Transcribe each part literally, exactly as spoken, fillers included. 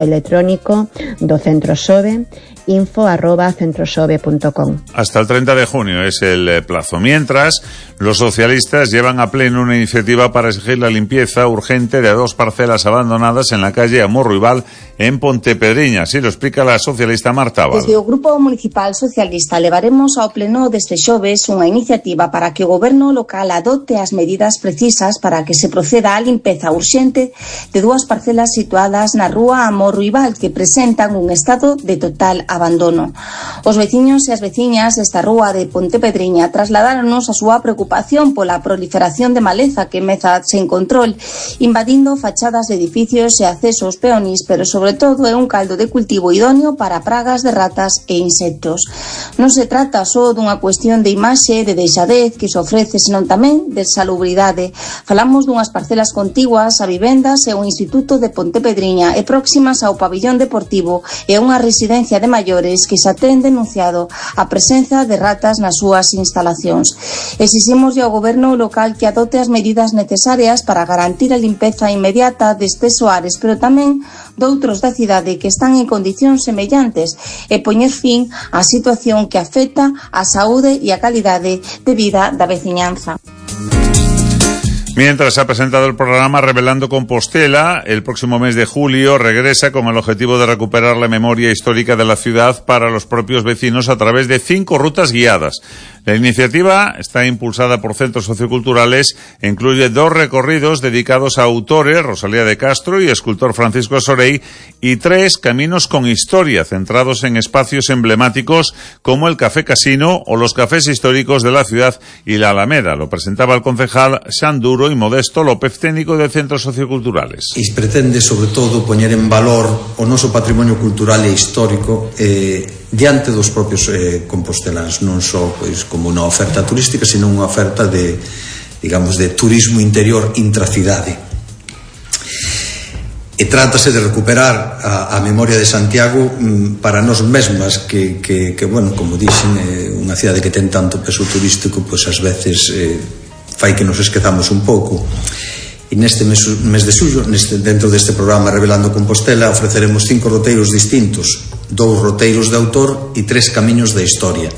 electrónico do Centro Xove, info arroba centroxove punto com. Hasta el treinta de junio es el plazo. Mientras, los socialistas llevan a pleno una iniciativa para exigir la limpieza urgente de dos parcelas abandonadas en la calle Amorruibal, en Pontepedriña. Así lo explica la socialista Marta Abal. Desde o Grupo Municipal Socialista levaremos ao pleno deste xoves unha iniciativa para que o goberno local adopte as medidas precisas para que se proceda á limpeza urxente de dúas parcelas situadas na rúa Amorruibal que presentan un estado de total abandono. Os veciños e as veciñas desta rúa de Pontepedriña trasladáronos a súa preocupación pola proliferación de maleza que meza sen control, invadindo fachadas de edificios e accesos peonís, pero sobre todo é un caldo de cultivo idóneo para pragas de ratas e insectos. Non se trata só dunha cuestión de imaxe, de deixadez que se ofrece, senón tamén de salubridade. Falamos dunhas parcelas contiguas a vivendas e o Instituto de Pontepedriña e próximas ao pabillón deportivo e a unha residencia de maiores que xa ten denunciado a presenza de ratas nas súas instalacións. Exiximos ao goberno local que adote as medidas necesarias para garantir a limpeza inmediata destes soares, pero tamén doutros da cidade que están en condicións semellantes e poñer fin á situación que afecta a saúde e a calidade de vida da veciñanza. Mientras ha presentado el programa Revelando Compostela, el próximo mes de julio regresa con el objetivo de recuperar la memoria histórica de la ciudad para los propios vecinos a través de cinco rutas guiadas. La iniciativa está impulsada por centros socioculturales e incluye dos recorridos dedicados a autores, Rosalía de Castro y escultor Francisco Sorey, y tres caminos con historia, centrados en espacios emblemáticos como el Café Casino o los cafés históricos de la ciudad y la Alameda. Lo presentaba el concejal Xanduro y Modesto López, técnico de centros socioculturales. E pretende, sobre todo, poñer en valor o noso patrimonio cultural e histórico eh, diante dos propios eh, composteláns, non só pois, como unha oferta turística, sino unha oferta de, digamos, de turismo interior intracidade. E trátase de recuperar a, a memoria de Santiago mm, para nós mesmas, que, que, que bueno, como dixen, eh, unha cidade que ten tanto peso turístico, pois ás veces eh, fai que nos esquezamos un pouco. E neste mes, mes de xullo, neste, dentro deste programa Revelando Compostela, ofreceremos cinco roteiros distintos, dous roteiros de autor e tres camiños da historia.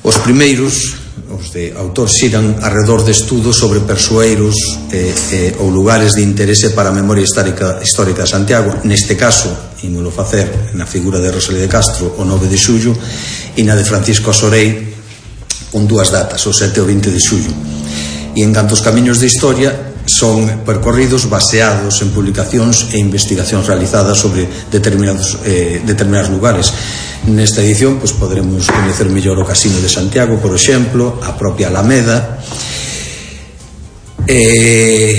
Os primeiros, os de autor, xiran arredor de estudos sobre persoeiros eh, eh, ou lugares de interese para a memoria histórica, histórica de Santiago. Neste caso, ímolo facer na figura de Rosalía de Castro o nove de xullo e na de Francisco Sorey con dúas datas, o sete e o vinte de xullo. E en canto aos camiños de historia, son percorridos baseados en publicacións e investigacións realizadas sobre determinados, eh, determinados lugares. Nesta edición, pues, poderemos coñecer mellor o Casino de Santiago, por exemplo, a propia Alameda, e,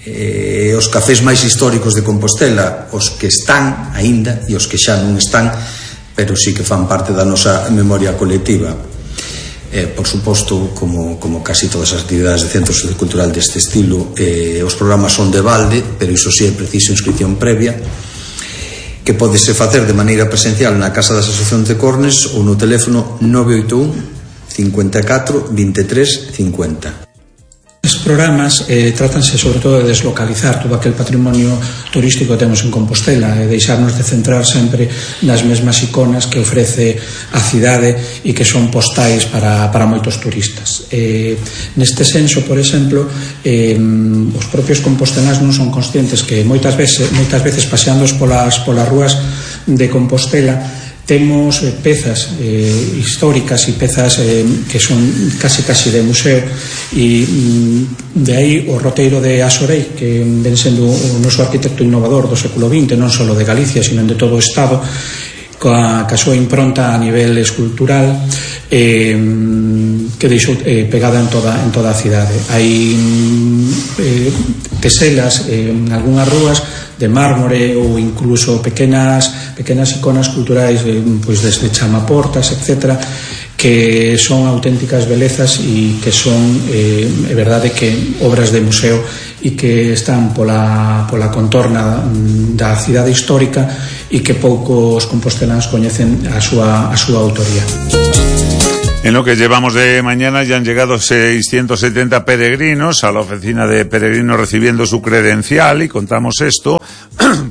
e os cafés máis históricos de Compostela, os que están aínda e os que xa non están, pero sí que fan parte da nosa memoria colectiva. Eh, por suposto, como, como casi todas as actividades de centro sociocultural deste estilo, eh, os programas son de balde, pero iso sí é preciso inscripción previa, que podese facer de maneira presencial na Casa das Asociacións de Cornes ou no teléfono nove oito un, cinco catro, vinte e tres, cincuenta. Os programas eh, trátanse sobre todo de deslocalizar todo aquel patrimonio turístico que temos en Compostela e deixarnos de centrar sempre nas mesmas iconas que ofrece a cidade e que son postais para, para moitos turistas. Eh, neste senso, por exemplo, eh, os propios composteláns non son conscientes que moitas veces, moitas veces paseándoos polas, polas rúas de Compostela temos eh, pezas eh, históricas e pezas eh, que son casi casi de museo, e mm, de aí o roteiro de Asorey, que ven sendo o noso arquitecto innovador do século vinte, non só de Galicia, sino de todo o Estado, coa, coa súa impronta a nivel escultural, eh, que deixou eh, pegada en toda, en toda a cidade. Hai eh, teselas eh, en algunhas rúas de mármore ou incluso pequenas pequenas iconas culturais, eh, pois desde chamaportas, etcétera, que son auténticas belezas e que son, eh, é verdade que obras de museo e que están pola, pola contorna da cidade histórica e que poucos composteláns coñecen a súa, a súa autoría. En lo que llevamos de mañana ya han llegado seiscientos setenta peregrinos a la oficina de peregrinos recibiendo su credencial, y contamos esto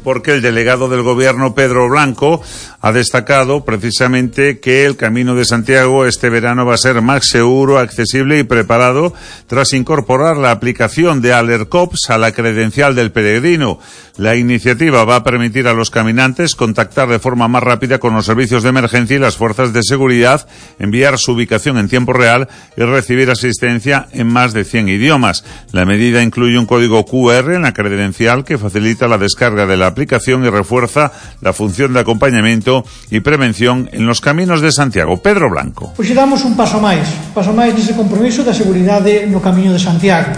porque el delegado del gobierno, Pedro Blanco, ha destacado precisamente que el Camino de Santiago este verano va a ser más seguro, accesible y preparado tras incorporar la aplicación de Alercops a la credencial del peregrino. La iniciativa va a permitir a los caminantes contactar de forma más rápida con los servicios de emergencia y las fuerzas de seguridad, enviar su ubicación en tiempo real y recibir asistencia en más de cien idiomas. La medida incluye un código cu erre en la credencial que facilita la descarga de la aplicación y refuerza la función de acompañamiento y prevención en los caminos de Santiago. Pedro Blanco. Pois damos un paso máis, paso máis nese compromiso da seguridade no Camiño de Santiago.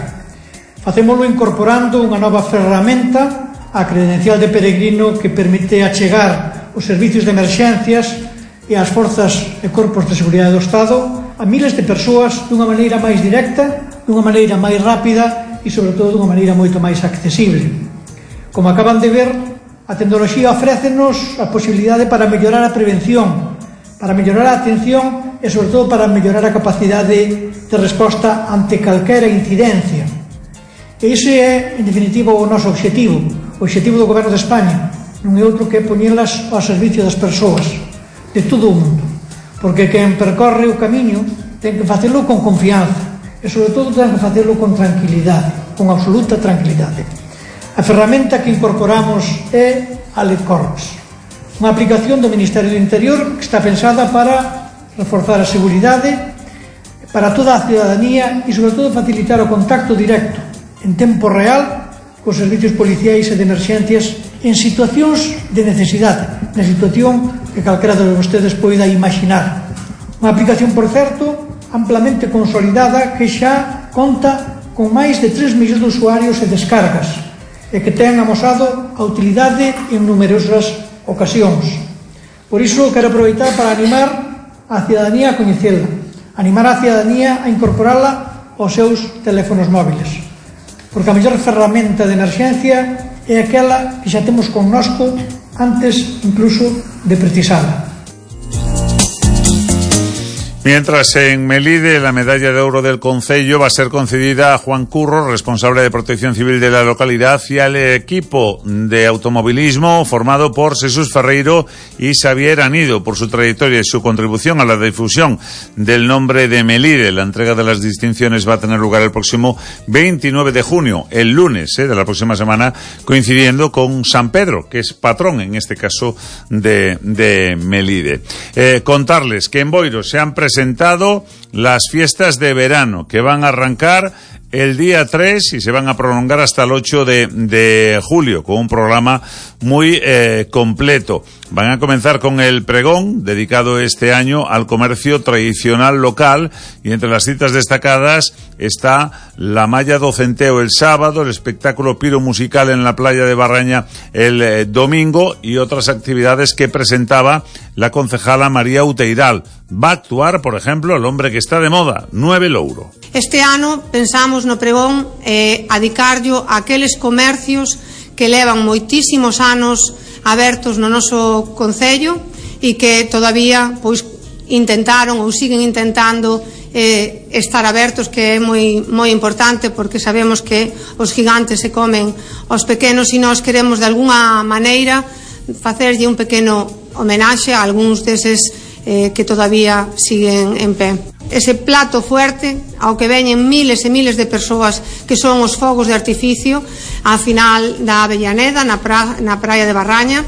Facémolo incorporando unha nova ferramenta a credencial de peregrino que permite achegar os servicios de emerxencias e as forzas e corpos de seguridade do Estado a miles de persoas dunha maneira máis directa, dunha maneira máis rápida e, sobre todo, dunha maneira moito máis accesible. Como acaban de ver, a tecnoloxía ofrécenos a posibilidade para mellorar a prevención, para mellorar a atención e, sobre todo, para mellorar a capacidade de resposta ante calquera incidencia. E ese é, en definitiva, o noso obxectivo, o obxectivo do Goberno de España. Non é outro que poñelas ao servicio das persoas, de todo o mundo, porque quen percorre o camiño ten que facelo con confianza e, sobre todo, ten que facelo con tranquilidade, con absoluta tranquilidade. A ferramenta que incorporamos é Alercops, unha aplicación do Ministerio do Interior que está pensada para reforzar a seguridade para toda a ciudadanía e, sobre todo, facilitar o contacto directo en tempo real cos servicios policiais e de emerxencias en situacións de necesidade, na situación que calquera de vostedes poida imaginar. Unha aplicación, por certo, amplamente consolidada que xa conta con máis de tres millóns de usuarios e descargas e que ten amosado a utilidade en numerosas ocasións. Por iso quero aproveitar para animar a ciudadanía a coñecela, animar a ciudadanía a incorporala aos seus teléfonos móviles, porque a mellor ferramenta de emerxencia é aquela que xa temos connosco antes incluso de precisala. Mientras en Melide la medalla de oro del Concello va a ser concedida a Juan Curro, responsable de Protección Civil de la localidad, y al equipo de automovilismo formado por Jesús Ferreiro y Xavier Anido por su trayectoria y su contribución a la difusión del nombre de Melide. La entrega de las distinciones va a tener lugar el próximo veintinueve de junio, el lunes eh, de la próxima semana, coincidiendo con San Pedro, que es patrón en este caso de, de Melide. Eh, contarles que en Boiro se han presentado presentado las fiestas de verano que van a arrancar el día tres y se van a prolongar hasta el ocho de, de julio con un programa muy eh, completo. Van a comenzar con el pregón dedicado este año al comercio tradicional local, y entre las citas destacadas está la malla do Centeo el sábado, el espectáculo piro musical en la playa de Barraña el eh, domingo y otras actividades que presentaba la concejala María Uteiral. Va a actuar, por ejemplo, el hombre que está de moda, Nueve Louro. Este ano pensamos no pregón eh, adicarllo a aqueles comercios que levan moitísimos anos abertos no noso concello e que todavía pois intentaron ou siguen intentando eh, estar abertos, que é moi moi importante, porque sabemos que os gigantes se comen aos pequenos e nós queremos de algunha maneira facerlle un pequeno homenaxe a algúns deses eh, que todavía siguen en pé. Ese plato fuerte ao que veñen miles e miles de persoas, que son os fogos de artificio a final da Avellaneda na, pra, na praia de Barraña,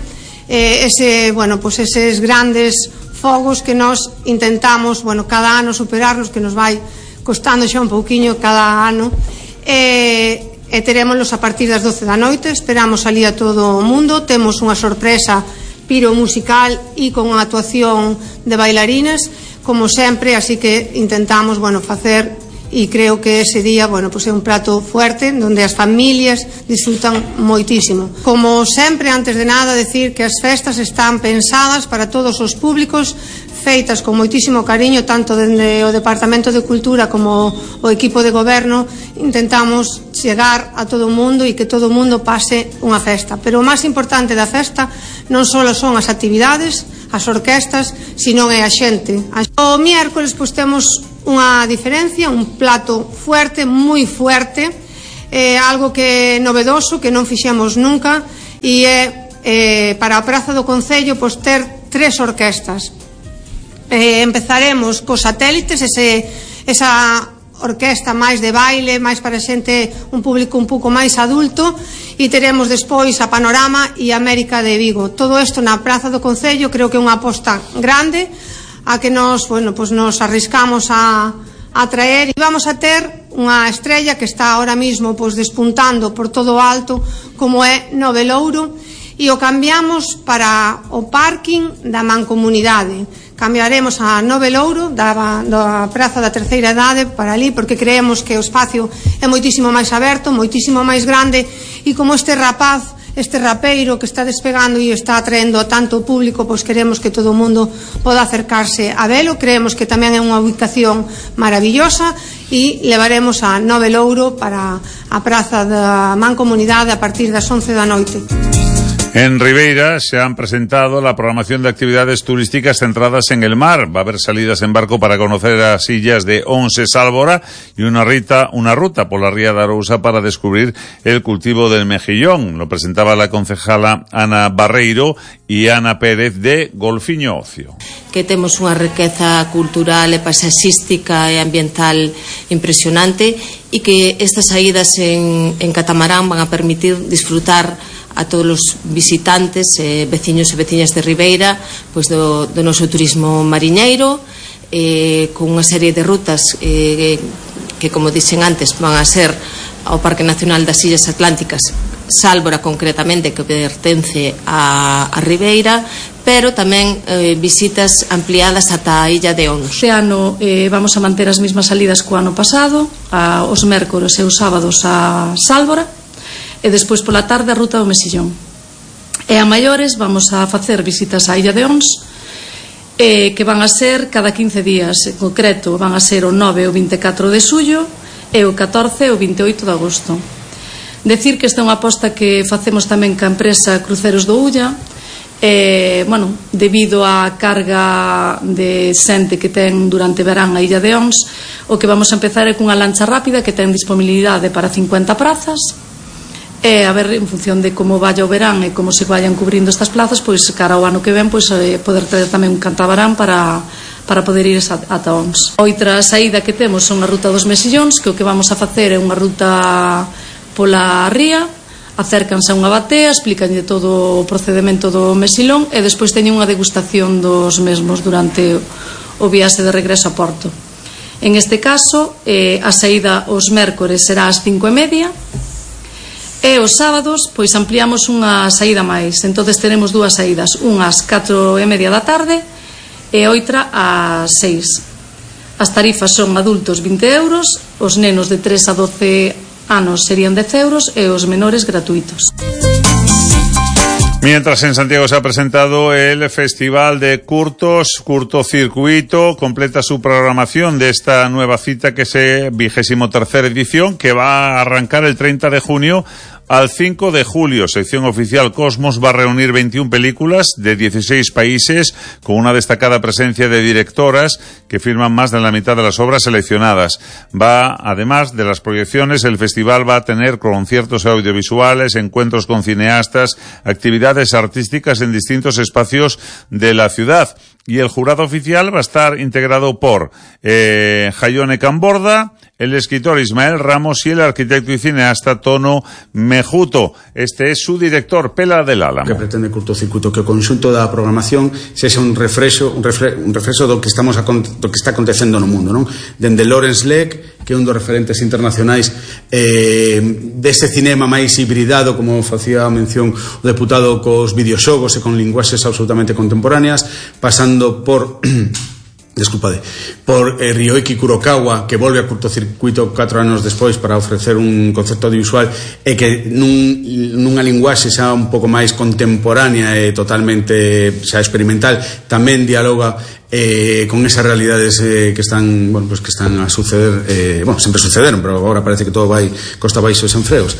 eh, ese, bueno, pues eses grandes fogos que nós intentamos, bueno, cada ano superarlos, que nos vai costando xa un pouquiño cada ano, e, e terémolos a partir das doce da noite. Esperamos salir a todo o mundo. Temos unha sorpresa piro musical e con unha actuación de bailarines, como sempre, así que intentamos, bueno, facer, e creo que ese día, bueno, pues é un prato fuerte donde as familias disfrutan moitísimo. Como sempre, antes de nada, decir que as festas están pensadas para todos os públicos, feitas con moitísimo cariño, tanto dende o Departamento de Cultura como o equipo de goberno. Intentamos chegar a todo o mundo e que todo o mundo pase unha festa, pero o máis importante da festa non só son as actividades, as orquestas, sino é a xente. O miércoles pois temos unha diferencia, un plato fuerte, moi fuerte, eh, algo que é novedoso, que non fixemos nunca, e é eh, para a Praza do Concello pois ter tres orquestas. Eh, empezaremos cos satélites, ese, esa orquesta máis de baile, máis para xente, un público un pouco máis adulto, e teremos despois a Panorama e a América de Vigo. Todo isto na Praza do Concello, creo que é unha aposta grande a que nos, bueno, pues nos arriscamos a, a traer, e vamos a ter unha estrella que está ahora mismo pues, despuntando por todo o alto, como é Novelouro, e o cambiamos para o parking da Mancomunidade. Cambiaremos a Novelouro da, da Praza da Terceira Idade para ali, porque creemos que o espacio é moitísimo máis aberto, moitísimo máis grande, e como este rapaz, este rapeiro que está despegando e está atraendo a tanto público, pois queremos que todo o mundo poda acercarse a velo. Creemos que tamén é unha ubicación maravillosa, e levaremos a Novelouro para a Praza da Mancomunidade a partir das once da noite. En Ribeira se han presentado la programación de actividades turísticas centradas en el mar. Va a haber salidas en barco para conocer las illas de Once Sálvora y una, rita, una ruta por la ría de Arousa para descubrir el cultivo del mejillón. Lo presentaba la concejala Ana Barreiro y Ana Pérez de Golfiño Ocio. Que temos unha riqueza cultural e paisaxística e ambiental impresionante, e que estas saídas en, en catamarán van a permitir disfrutar a todos os visitantes, eh, veciños e veciñas de Ribeira, pois do, do noso turismo mariñeiro, eh, con unha serie de rutas eh, que, como dixen antes, van a ser ao Parque Nacional das Illas Atlánticas, Sálvora concretamente, que pertence a, a Ribeira, pero tamén eh, visitas ampliadas ata a Illa de Ons. Este ano eh, vamos a manter as mesmas salidas co ano pasado, a, os mércores e os sábados a Sálvora, e despois pola tarde a ruta do Mesillón. E a maiores vamos a facer visitas á Illa de Ons, eh, que van a ser cada quince días. En concreto van a ser o nove e o vinte e catro de xullo e o catorce e o vinte e oito de agosto. Decir que esta é unha aposta que facemos tamén ca empresa Cruceros do Ulla, eh, bueno, debido á carga de xente que ten durante verán a Illa de Ons, o que vamos a empezar é cunha lancha rápida que ten disponibilidade para cincuenta prazas. E a ver, en función de como vaya o verán e como se vayan cubrindo estas plazas, pois cara ao ano que ven, pois eh, poder ter tamén un catamarán para, para poder ir ata Ons. Outra saída que temos son a ruta dos Mesillóns, que o que vamos a facer é unha ruta pola ría, acércanse a unha batea, explicanlle todo o procedemento do mesilón, e despois teñen unha degustación dos mesmos durante o viaxe de regreso a Porto. En este caso, eh, a saída os mércores será ás cinco e media, e os sábados pois ampliamos unha saída máis. Entonces teremos dúas saídas, unha ás catro e media da tarde e outra ás seis. As tarifas son adultos vinte euros, os nenos de tres a doce anos serían dez euros e os menores gratuitos. Mientras en Santiago se ha presentado el Festival de Curtos, Curtocircuito, completa su programación de esta nueva cita, que es vigésimo tercera edición, que va a arrancar el treinta de junio al cinco de julio. Sección oficial Cosmos va a reunir veintiuna películas de dieciséis países, con una destacada presencia de directoras que firman más de la mitad de las obras seleccionadas. Va, además de las proyecciones, el festival va a tener conciertos audiovisuales, encuentros con cineastas, actividades artísticas en distintos espacios de la ciudad. Y el jurado oficial va a estar integrado por eh, Jaione Camborda, el escritor Ismael Ramos y el arquitecto y cineasta Tono Mejuto. Este es su director, Pela del Álamo. Que pretende Curtocircuito que o conxunto da programación sexa un refrexo, un, refre, un refrexo do que estamos a, do que está acontecendo no mundo, non? Dende Lawrence Leck, que é un dos referentes internacionais eh, deste cinema máis hibridado, como facía mención o deputado, cos videoxogos e con linguaxes absolutamente contemporáneas, pasando por Desculpade, por eh, Ryoiki Kurokawa, que volve a Curtocircuito catro anos despois para ofrecer un concepto audiovisual e que nun, nunha linguaxe xa un pouco máis contemporánea e totalmente xa experimental, tamén dialoga eh, con esas realidades eh, que están, bueno, pues que están a suceder, eh, bueno, sempre sucederon, pero agora parece que todo vai costa baixo e sen freos.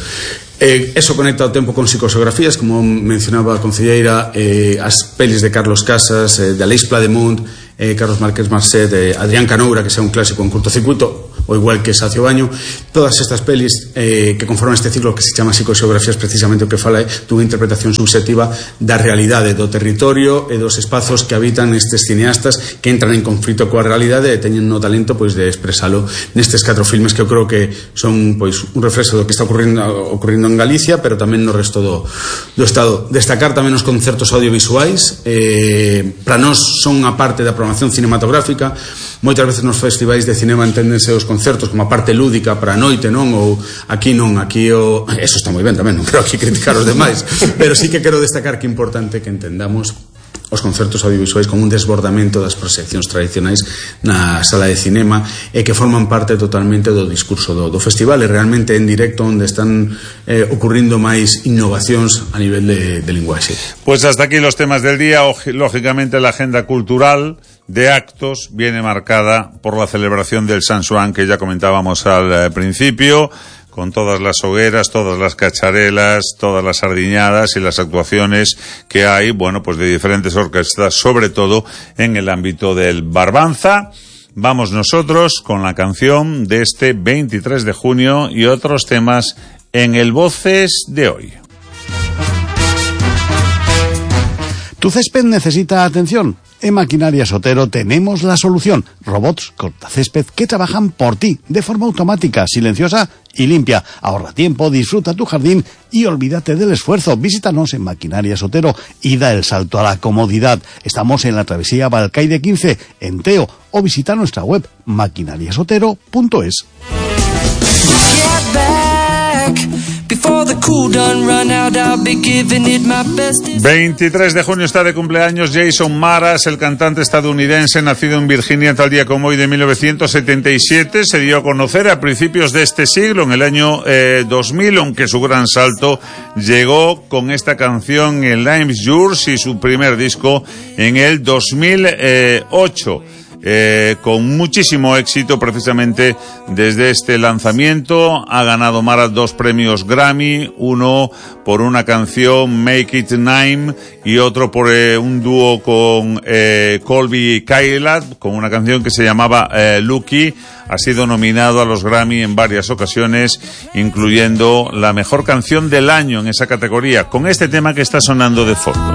Eh, eso conecta o tempo con psicoxeografías, como mencionaba a concelleira, eh, as pelis de Carlos Casas, eh, de Aleix Plademont, eh, Carlos Márquez Marcet, eh, Adrián Canoura, que sea un clásico en cortocircuito, o igual que Sacio Baño. Todas estas pelis eh, que conforman este ciclo que se chama psicoxeografías, precisamente o que fala é dunha interpretación subxectiva da realidade, do territorio e dos espazos que habitan estes cineastas que entran en conflito coa realidade e teñen o talento pois de expresalo nestes catro filmes que eu creo que son pois un reflexo do que está ocurrindo, ocurrindo en Galicia, pero tamén no resto do, do Estado. Destacar tamén os concertos audiovisuais, eh, para nós son a parte da programación cinematográfica. Moitas veces nos festivais de cinema enténdense os concertos como a parte lúdica para a noite, non? Ou aquí non, aquí o... Eso está moi ben tamén, non quero aquí criticar os demais, pero sí que quero destacar que é importante que entendamos os concertos audiovisuais como un desbordamento das proxeccións tradicionais na sala de cinema e que forman parte totalmente do discurso do, do festival e realmente en directo onde están eh, ocurrindo máis innovacións a nivel de, de linguaxe. Pues hasta aquí los temas del día. Lógicamente la agenda cultural de actos viene marcada por la celebración del San Xoán que ya comentábamos al eh, principio, con todas las hogueras, todas las cacharelas, todas las sardiñadas y las actuaciones que hay, bueno, pues de diferentes orquestas, sobre todo en el ámbito del Barbanza. Vamos nosotros con la canción de este veintitrés de junio y otros temas en el Voces de hoy. Tu césped necesita atención. En Maquinaria Sotero tenemos la solución. Robots cortacésped que trabajan por ti de forma automática, silenciosa y limpia. Ahorra tiempo, disfruta tu jardín y olvídate del esfuerzo. Visítanos en Maquinaria Sotero y da el salto a la comodidad. Estamos en la travesía Balcaide quince, en Teo, o visita nuestra web maquinariasotero punto es. veintitrés de junio está de cumpleaños Jason Mraz, el cantante estadounidense nacido en Virginia tal día como hoy de mil novecientos setenta y siete. Se dio a conocer a principios de este siglo, en el año eh, dos mil, aunque su gran salto llegó con esta canción en Lime's Yours y su primer disco en el dos mil ocho. Eh, con muchísimo éxito precisamente desde este lanzamiento. Ha ganado Mraz dos premios Grammy, uno por una canción Make It Nine y otro por eh, un dúo con eh, Colby Kylat con una canción que se llamaba eh, Lucky. Ha sido nominado a los Grammy en varias ocasiones, incluyendo la mejor canción del año en esa categoría, con este tema que está sonando de fondo.